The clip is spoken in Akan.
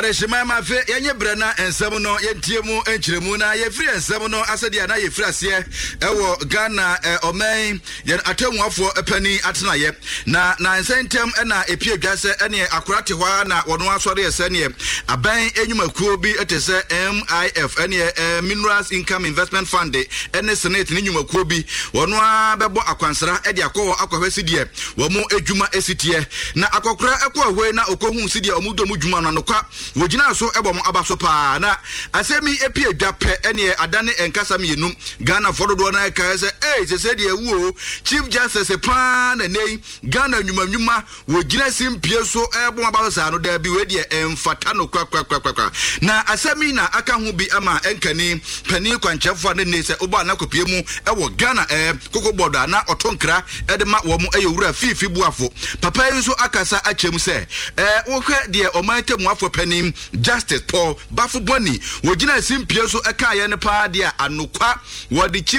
Adehyeman ma afe yɛnye berɛ na nsɛm no yɛntie mu nkyerɛmu na yɛfiri nsɛm no ase deɛ na yɛfiri aseɛ ɛwɔ Ghana ɔman yɛn atemmuafoɔ panin atenaeɛ na na nsɛn ntɛm na ɛpie dwa sɛ ɛneɛ akora te hɔ ara na wɔn asɔreɛ sɛneɛ aban nnwumakuo bi te sɛ MIF ɛneɛ Minerals Income Investment Fund ɛne Senate ne nnwumakuo bi wɔn ara bɛbɔ akwansra de akɔ hɔ akɔhwɛ sideɛ wɔn adwuma si teɛ. Na akɔkora kɔɔ hɔ yi na ɔkɔhuu sɛdeɛ wɔdi wɔn dwuma no, anokwa, wɔgyinaa so bɔ wɔn aba so paa. Na asɛm yi pue dwa pɛ, ɛneɛ adane nkasa mmienu. Ghanafoɔ dodoɔ no ara kaeɛ sɛ, Ei, sesei deɛ awu o, Chief Justice paa na ɛnnɛ yi Ghana nnwuma nnwuma wɔgyina simpie so rebɔ wɔn aba so saa no, daabi, wei deɛ ɛmfata no korakorakorakora. Na asɛm yi na aka ho bi ama ɛnkani panin kwankyerɛfoɔ a ne nne sɛ wobɔ a na kɔpie mu wɔ Ghana ɛɛ Koko Board a na ɔto nkra de ma wɔn yɛ Owura Fiifi Boafo. Papa yi nso akasa akyerɛ mu sɛ, ɛɛ wohwɛ deɛ ɔman tɛmmuafoɔ panin Justice Paul Baffoe Bonnie wɔgyinaa simpie so kaeɛ no paa deɛ a, anokwa wɔde kyi.